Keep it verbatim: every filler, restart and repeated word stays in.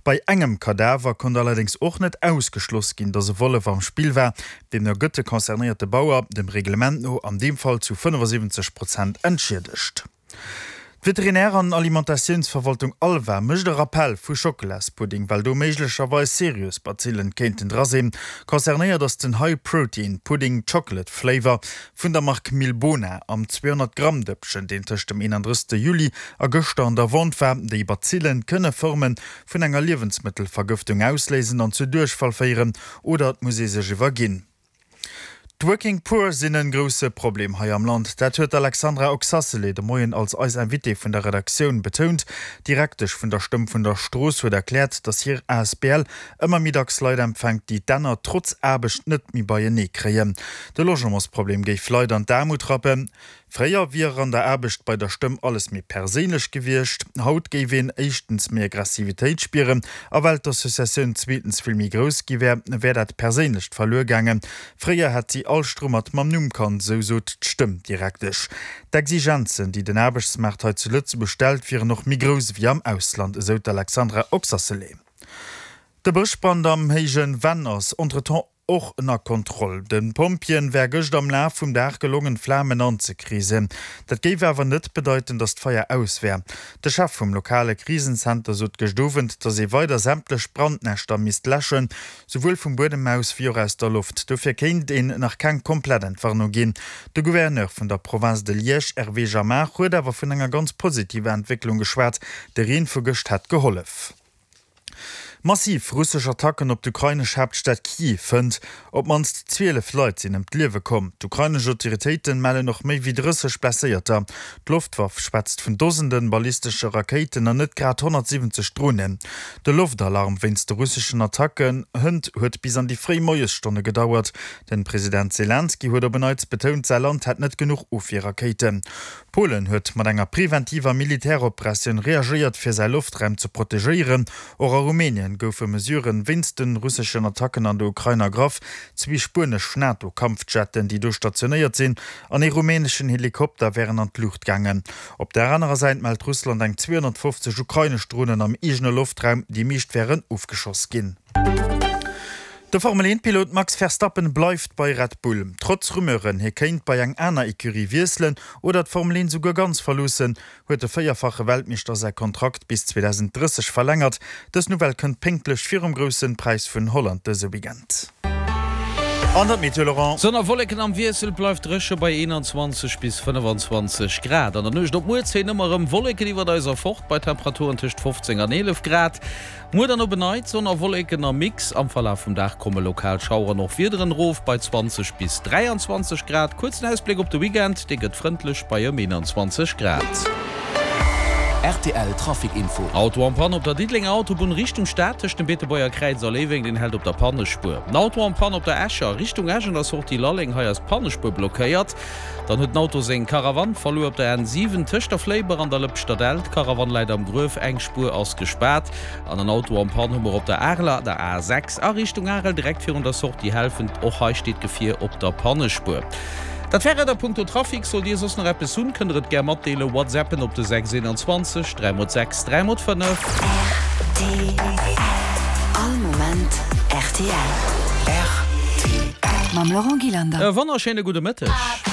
Bei engem Kadaver konnt allerdéngs och net ausgeschloss ginn, datt e Wollef am Spill war. Deemno gëtt de concernéierte Bauer dem Reglement no an deem Fall zu fënnefasiwwenzeg Prozent entschiedegt. D'Veterinär an Alimentatiounsverwaltung ALVA mécht e Rappell vu Schockelaspudding, well do méiglecherweis seriös Bazillen kéinten dra sinn. Concernéiert ass den High Protein Pudding Chocolate Flavor vun der Mark Milbona am zweehonnert Gramm Dëppchen, deen tëscht dem eenandrëssegste Juli a gëschter an der Vente war. Déi Bazillen kënne Forme vun enger Liewensmëttelvergëftung ausléisen an zu Duerchfall féieren oder et muss ee sech iwwerginn. D'Working Poor sinn en grousse Problem hei am Land. Dat huet d'Alexandra Oxacelay de Moien als eis Invitée vun der Redaktioun betount. D'Direktesch vun der Stëmm vun der Strooss huet erkläert, datt hir asbl ëmmer méi dacks Leit empfänkt, déi d'Enner trotz Aarbecht net méi beienee kréien. De Logementsproblem géif Leit an d'Aarmut rappen. Fréier wier an der Aarbecht bei der Stëmm alles méi perséinlech gewiescht. Haut géif een éischtens méi Aggressivitéit spieren a well d'Associatioun zweetens vill méi grouss gi wär, wär dat Perséinlecht verluer gaangen. Fréier hätt si all Strummert mam Numm kannt, sou sot d'Stëmm-Direktesch. D'Exigenzen, déi den Aarbechtsmaart hei zu Lëtzebuerg stellt, wieren och méi grouss ewéi am Ausland, esou d'Alexandra Oxacelay. De Bëschbrand am Héijen Venn ass entretemps och ënner Kontroll. De Pompjeeën wär gëscht am Laf vum Dag gelongen, d'Flamen anzekreesen. Dat géif awer net bedeiten, datt d'Feier aus wär. De Chef vum lokale Krisenzenter sot gëscht Owend, datt ee weider sämtlech Brandnäschter misst läschen, souwuel vum Buedem aus wéi och aus der Loft. Dofir kéint een nach keng komplett Entwarnung ginn. De Gouverneur vun der Province de Liège, Hervé Jamard, huet awer vun enger ganz positiver Entwécklung geschwat. De Reen vu gëscht hätt gehollef. Massiv russesch Attacken op d'ukrainesch Haaptstad Kyiv fënnt. Op d'mannst zwielef Leit sinn ëm d'Liewe komm. D'ukrainesch Autoritéite mellen och méi wéi drësseg Blesséierter. D'Loftwaff schwätzt vun Dosende ballistesche Rakéiten an net grad honnertsiwwenzeg Dronen. De Loftalarm wéinst de russeschen Attacken hënt huet bis an déi fréi Moiesstonne gedauert. Den President Selenskyj huet op en Neits betount, säi Land hätt net genuch Ofwierrakéiten. Polen huet mat enger preventiver Militäroperatioun reagéiert, fir säi Loftraum ze protegéieren. Och a Rumänien goufe Mesuren wéinst de russeschen Attacken an der Ukrain ergraff. Zwee spuenesch NATO-Kampfjetten, déi do stationéiert sinn, an ee rumäneschen Helikopter wären an d'Luucht gaangen. Op der anerer Säit mellt Russland eng zweehonnertfofzeg ukrainesch Dronen am eegene Loftraum, déi meescht wären ofgeschoss ginn. De Formel-Eent-Pilot Max Verstappen bleift bei Red Bull. Trotz Rumeuren, hie kéint bei eng aner Ecurie wiesselen oder d'Formel Eent souguer ganz verloossen, huet de véierfache Weltmeeschter säi Kontrakt bis zweedausenddrësseg verlängert. Dës Nouvelle kënnt pénktlech virum Grousse Präis vun Holland dëse Weekend. An der Meteo, Laurent. Sonn a Wolleken am Wiessel, bleift dréche bei eenanzwanzeg bis fënnefanzwanzeg Grad. An der Nuecht op muer zéien ëmmer erëm Wolleken iwwert eis erfort, bei Temperaturen tëscht fofzéng an eelef Grad. Muer dann op en Neits Sonn a Wolleken am Mix. Am Verlaf vum Dag komme lokal Schaueren och Wiederen erof bei zwanzeg bis dräianzwanzeg Grad. Kuerzen Ausbléck op de Weekend, dee gëtt frëndlech bei ëm eenanzwanzeg Grad. Rtl Trafic Info. Auto en panne op der Diddelenger Autobunn Richtung Stad tëscht dem Beetebuerger Kräiz a Léiweng, deen hält op der Pannespuer. En Auto en panne op der Escher Richtung Esch an der Sortie Lalleng, hei ass d'Pannespuer blockéiert. Dann huet en Auto seng Karawann verluer op der N siwen tëscht der Fléiber an der Lëpschter Dell. D'Karawann läit am Gruef, eng Spuer ass gespaart. An en Auto en panne hu mer op der Areler, der A sechs a Richtung Arel, direkt virun der Sortie Helfent. Och hei steet d'Gefier op der Pannespuer. Dat war et a punkto Trafic. Sollt Dir soss nach eppes hunn, kënnt der et gär matdeelen. Whatsappen op de sechs eenanzwanzeg dräi mol sechs dräi mol fënnef. Rtl, All Moment rtl. Rtl. Mam Laurent Gillander. E wonnerschéine gudde Mëtteg.